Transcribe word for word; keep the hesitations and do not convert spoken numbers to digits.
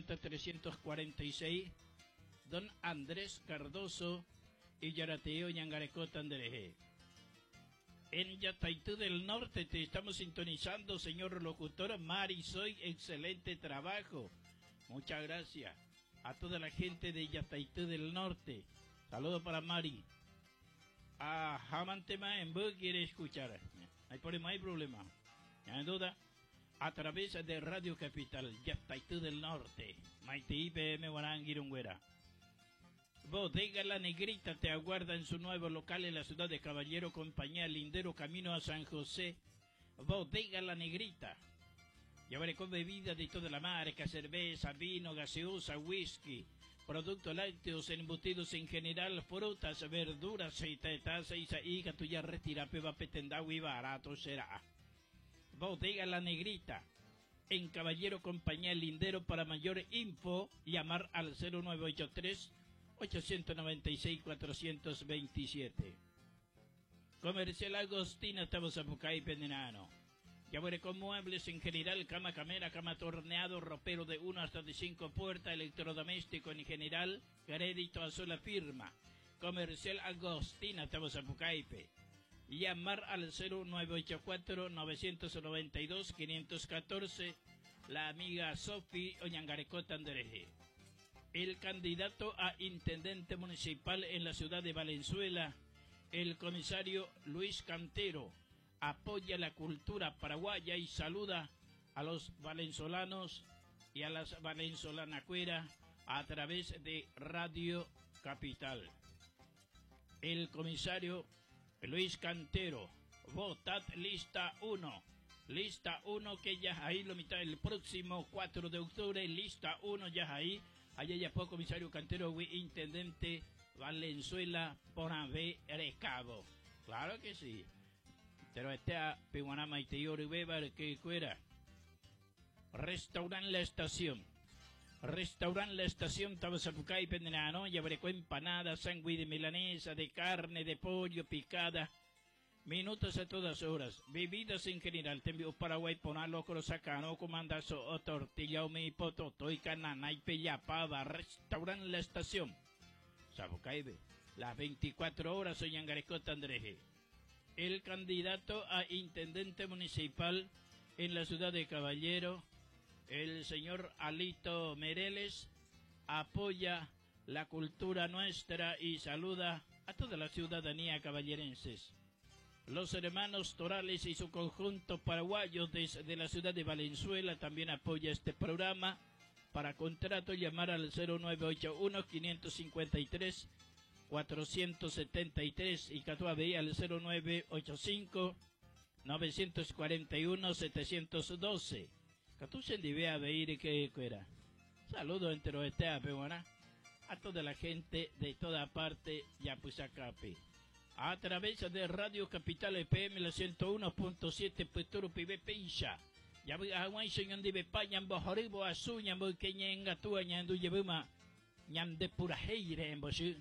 cincuenta trescientos cuarenta y seis, don Andrés Cardoso y Yarateo Ñangarecota Andereje. En Yataitú del Norte te estamos sintonizando, señor locutor Mari, soy excelente trabajo. Muchas gracias a toda la gente de Yataitú del Norte. Saludo para Mari. A Jamantema en Bu quiere escuchar. Hay problema, hay problema. No hay duda. A través de Radio Capital, Yataitú del Norte. Maite I P M Guarangirungüera. Bodega La Negrita te aguarda en su nuevo local en la ciudad de Caballero, compañía Lindero, camino a San José. Bodega La Negrita. Llevaré con bebida de toda la marca, cerveza, vino, gaseosa, whisky, productos lácteos, embutidos en general, frutas, verduras, y tetas, y sa, tuya retira, peba, petendawi, barato será. Bodega La Negrita, en Caballero, compañía Lindero. Para mayor info, llamar al cero nueve ocho tres, ochocientos noventa y seis, cuatrocientos veintisiete. Comercial Agostina, estamos a Pucay, Pendenano. Ya veré con muebles en general, cama camera, cama torneado, ropero de uno hasta de cinco puertas, electrodoméstico en general, crédito a sola firma. Comercial Agostina, estamos a Pucaipe. Llamar al cero nueve ocho cuatro, novecientos noventa y dos, quinientos catorce, la amiga Sofi Oñangarecota Andereje. El candidato a intendente municipal en la ciudad de Valenzuela, el comisario Luis Cantero, apoya la cultura paraguaya y saluda a los valenzolanos y a las valenzolanacueras a través de Radio Capital. El comisario Luis Cantero, votad lista uno. Lista uno que ya ahí lo mitad el próximo cuatro de octubre, lista uno ya ahí. Allá ya fue comisario Cantero, intendente Valenzuela Ponave Recabo. Claro que sí. Pero este a Piwanama y Teyori Beba, que fuera. Restaurant La Estación. Restaurant La Estación, Tabasapucay, Pendenano, ya veré con empanada, sándwich de milanesa, de carne, de pollo, picada. Minutos a todas horas. Bebidas en general. Te envío Paraguay, ponalo, crosacano, comandazo, o tortilla, o mi pototo, y canana, y pellapava. Restaurant La Estación. Sapucay, las veinticuatro horas, soy Angarecota Andreje. El candidato a intendente municipal en la ciudad de Caballero, el señor Alito Mereles, apoya la cultura nuestra y saluda a toda la ciudadanía caballerenses. Los hermanos Torales y su conjunto paraguayo desde la ciudad de Valenzuela también apoya este programa. Para contrato, llamar al cero nueve ocho uno, quinientos cincuenta y tres, cuatrocientos setenta y tres y Catua B al cero nueve ocho cinco, novecientos cuarenta y uno, setecientos doce. Catusen divea veir que era. Saludo entero este a a toda la gente de toda parte Yapusacape. A través de Radio Capital F M la ciento uno punto siete Peturo Pibe Peisha. Ya voy a Juan Señor de Peña, Bojoribo, Azuña, Boqueñenga, Tuaña, Duyebuma, Ñam de Purajeire en Bosú.